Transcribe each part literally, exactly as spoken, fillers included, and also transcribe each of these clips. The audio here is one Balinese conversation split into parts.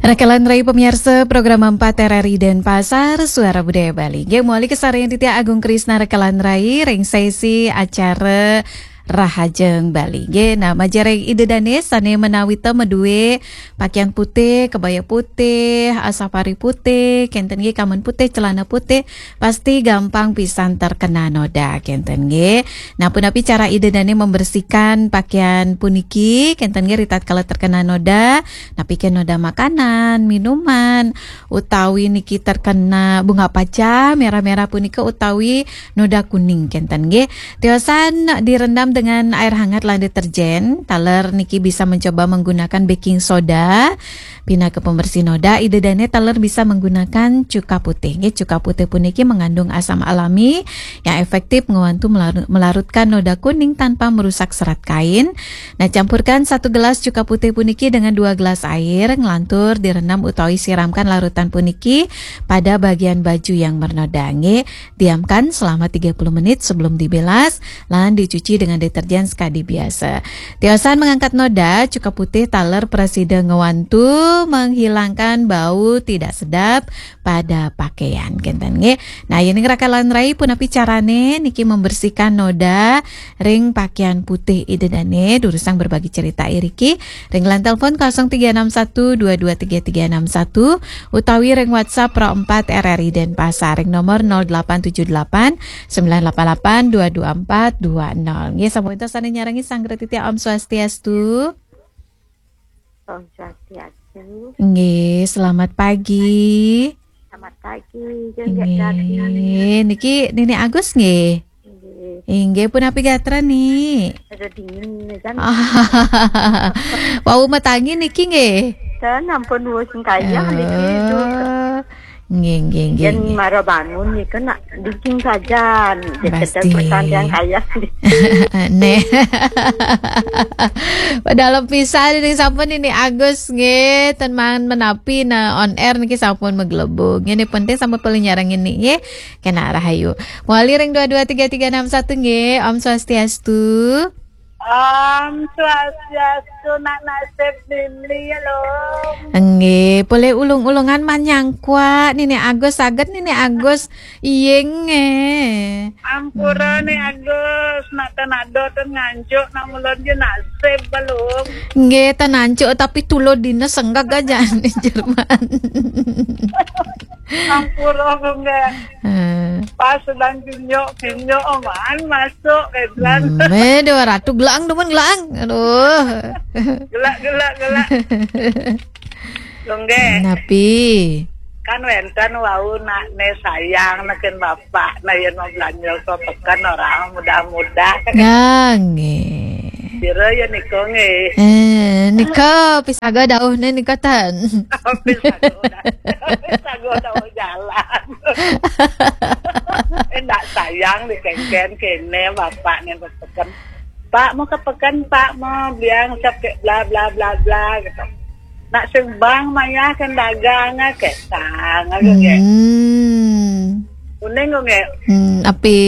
Rakalan rai pamiarsa program empat R R I Denpasar, Suara Budaya Bali. Nggih, mawali kasarengin titiang Agung Krisna rakalan rai ring sesi acara Rahajeng Bali. Nggih, nah, majeng ring Ida Dane sane menawita madue pakaian putih, kebaya putih, ah, safari putih, kenten nggih, kamen putih, celana putih, pasti gampang pisan terkena noda, kenten nggih. Nah, punapi cara Ida Dane membersihkan pakaian puniki, kenten nggih, ritatkala terkena noda? Napi ken noda makanan, minuman, utawi niki terkena bunga paja merah-merah punika utawi noda kuning kenten nggih. Tiosan direndam dengan air hangat lan deterjen, taler niki bisa mencoba menggunakan baking soda pinaka pembersih noda, Ida Dane taler bisa menggunakan cuka putih nggih. Cuka putih puniki mengandung asam alami yang efektif ngewantu melaru-, melarutkan noda kuning tanpa merusak serat kain. Nah, campurkan satu gelas cuka putih puniki dengan dua gelas air, nglantur direndam utawi siramkan larutan puniki pada bagian baju yang mernoda nggih. Diamkan selama tiga puluh menit sebelum dibilas, lan dicuci dengan deterjen sekadi biasa. Tiosan mengangkat noda, cuka putih taler prasida ngewantu menghilangkan bau tidak sedap pada pakaian kenten nggih. Nah, yening rakalan rai punapi carane niki membersihkan noda ring pakaian putih Ida Dane, durusang berbagi cerita iriki ring line telepon kosong tiga enam satu dua dua tiga tiga enam satu utawi ring WhatsApp Pro empat R R I Denpasar ring nomor nol delapan tujuh delapan sembilan delapan delapan dua dua empat dua nol. Nggih, sampun sane nyarengi Sanggra Titiang, Om Swastiastu. Om Swastiastu. Nggih, selamat pagi. Selamat pagi. Nggih, niki Nini Agus nggih. Nggih. Inggih, punapi gatra, Ni? Ada dingin nih kan. Wau matangi niki nggih. Kan ampun wau sing kayah niki. Oh. Nggih, nggih, nggih, nggih. Mara bangun nika nak dingin saja. Pasti. Pertandingan kayah. Neh. Padahal pisan ning sampun Nini Agus nggih, ten mangan menapi nah on air niki sampun maglebug. Nggih, penting sampun paling nyarengin nggih. Kena rahayu. Mawali ring dua dua tiga tiga enam satu nggih. Om Swastiastu. Om Swastiastu, nak nasib Nini ya, Lung. Nggih, polih ulung-ulungan manyangkwa Nini Agus, saged Nini Agus. Iya nggih. Ampura Ni Agus, nak ten ada ten nganjuk, nak mulon je nasib belum. Nggih, ten anjuk tapi tulud dina senggak aja ni Jerman. Ampura nggih. Pas sedang kinyuk, kinyuk, oh, man masuk, eh, bilang. Hmm, eh, dua ratus gelang, demen gelang. Aduh. Gelak, gelak, gelak. Lungge. Napi? Kan wenten wau nak ne sayang neken bapak, nah yen mau belanja ke peken orang mudah-mudah. Nggih, nggih. Sira ya nika nggih. Eh, nika pisaga dauh ne nika ten. Pisaga dauh. Pisaga dauh jalan. Eh, nak sayang dikengken kene bapak ne peken. Pak mau ke peken, Pak mau biang sampai bla bla bla bla gitu. Nak sing bang mayah kan dagang ah, ketang aja nggih. Hmm. Uning kok nggih. Hmm, api?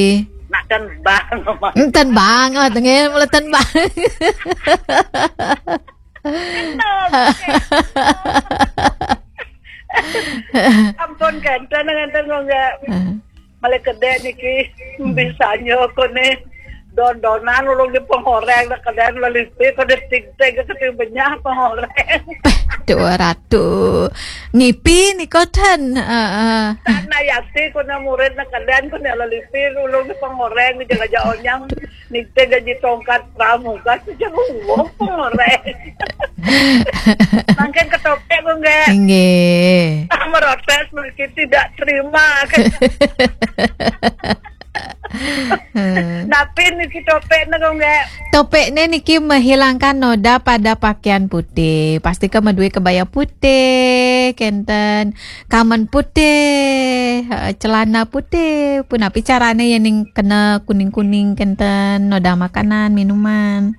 Nak ten bang. Hmm, ten bang, oh, tengil mula ten bang. Ampun, kenten, kenten kok nggih. Ah. Malih kedek niki, hmm, bisanya aku ni don-donan ulung di pengoreng, dah kedek lelipi, kada tig-tig, keting benyah pengoreng. Dua ratus. Ngipi ni koten. Heeh. Sana yati, kuna murid nak kedek, kuna lelipi, ulung di pengoreng, di jaga-jaga onyang. Niki gaji tongkat pramuka sejak uwong pengoreng. Mangkin ketopek kok nggih. Nggih. Merotes mungkin tidak terima. Napi niki topek ne kok nggih? Topek ne niki menghilangkan noda pada pakaian putih. Pasti ke madue kebaya putih, kenten. Kamen putih, heeh, celana putih, punapi carane yening kena kuning-kuning kenten, noda makanan, minuman.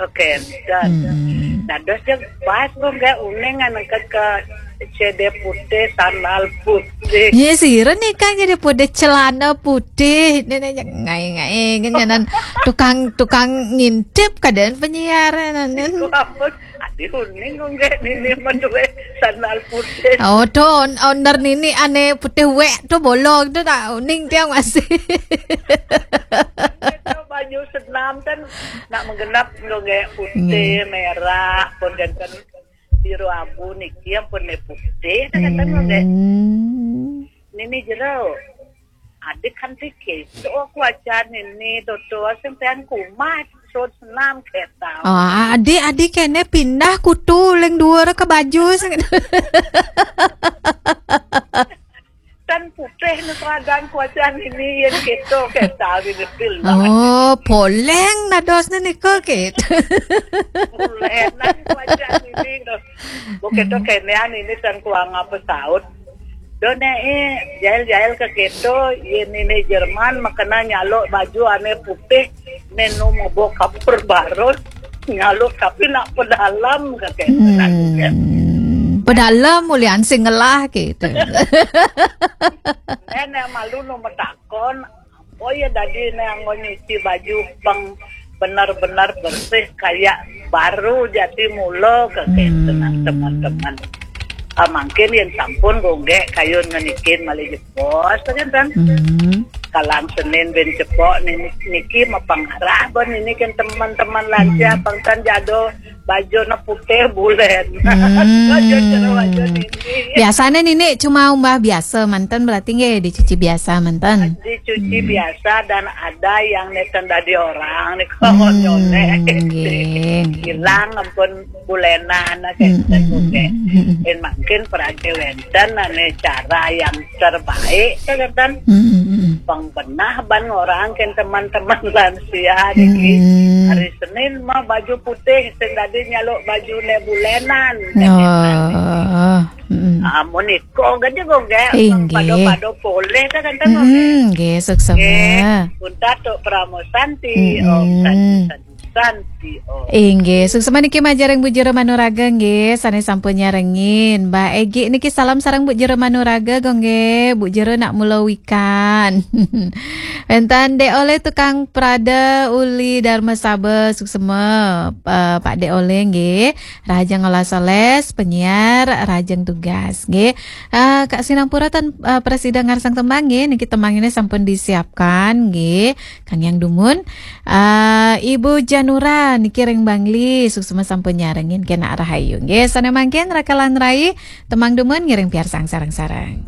Oke, dah. Hmm. Dados je pas kok nggih uning ngan ke C D putih, sandal putih. Ye, sira nika C D putih, celana putih. Nene ngai-ngai ngenan tukang, tukang ngintip keadaan penyiar nenen. Ampun. Uning kok nggih nini menduwe sandal putih. Oh, to on-, owner nini ane putih wek to bolong to tak uning tiang masih. Itu baju senam kan nak menggenap kok nggih putih, Nggih. merah, pun kan biru abu niki ampun ne putih kan kan kok nggih. Hmm. Nini jero. Adik kan pikir, oh kuacan nini toto sing pian kumat, sud senam keta. Oh, adik-adik kene pindah kutu leng dua ke baju sing. Tan putih ne keadaan kuacan nini yen keto keta di depil lah. Oh, poleng dados ne nika kit. Bulenan kuacan nini. Kok keto kenean nini tan kuang apa saut. Do ne eh, jail-jail ke keto, yen nini Jerman makena nyaluk baju ane putih, nenu mebo kapur barus, nyaluk tapi nak pedalam ke keto. Hmm. Pedalam mulian sing ngelah gitu. Nenek malu no metakon, oh ya dadi ne anggo nyuci baju peng benar-benar bersih kayak baru jati mula ke keto. Hmm. Teman-teman. Ah, mungkin yang sampun gonggek kayun ngenikin malih jebos kan tan. Hmm. Kalang Senin ben cepok nini, niki mapangarah bon nini kan teman-teman lansia Hmm. pangtan jado baju na putih bulen. Hmm. Baju cerah baju nini. Biasanya nini cuma umbah biasa mantan berarti nggih dicuci biasa mantan. Dicuci Hmm. biasa dan ada yang neten dadi orang nih Hmm, konyolnya. Nggih, nggih. Hilang ampun bulenan Hmm, kenten hmm, nggih. Hmm, hmm. Yen mangkin prade wenten ane cara yang terbaik kenten. Hmm, hmm, hmm. Pengbenah ban orang ken teman-teman lansia niki. Hmm. Hari Senin mah baju putih sing dadi nyaluk baju ne bulenan. Oh. Hmm. Amun iko gede kok nggih. Inggih. Pado-pado poleh kenten kok nggih. Hmm, nggih, suksema. Nggih. Untat tok Pramo Santi, Hmm. Om Santi Santi. Santi, oh. Inggih, suksema niki majareng Bu Jero Manuraga nggih, sane sampun nyarengin. Mbak Egi niki salam sareng Bu Jero Manuraga, kok nggih. Bu Jero nak mula wikan. Wenten Dek Oleh tukang prada uli Dharma Saba, suksema, eh, Pak Dek Oleh nggih. Rahajeng olas-olas, penyiar, rahajeng tugas nggih. Eh, Kak Sinampura tan, eh, prasida ngarsang tembang nggih, niki tembang ini sampun disiapkan nggih. Kang Yang Dumun, eh, Ibu Janura niki ring Bangli, suksema sampun nyarengin kena rahayu. Nggih, sane mangkin rakalan rai temang dumun ngiring piarsang sareng-sareng.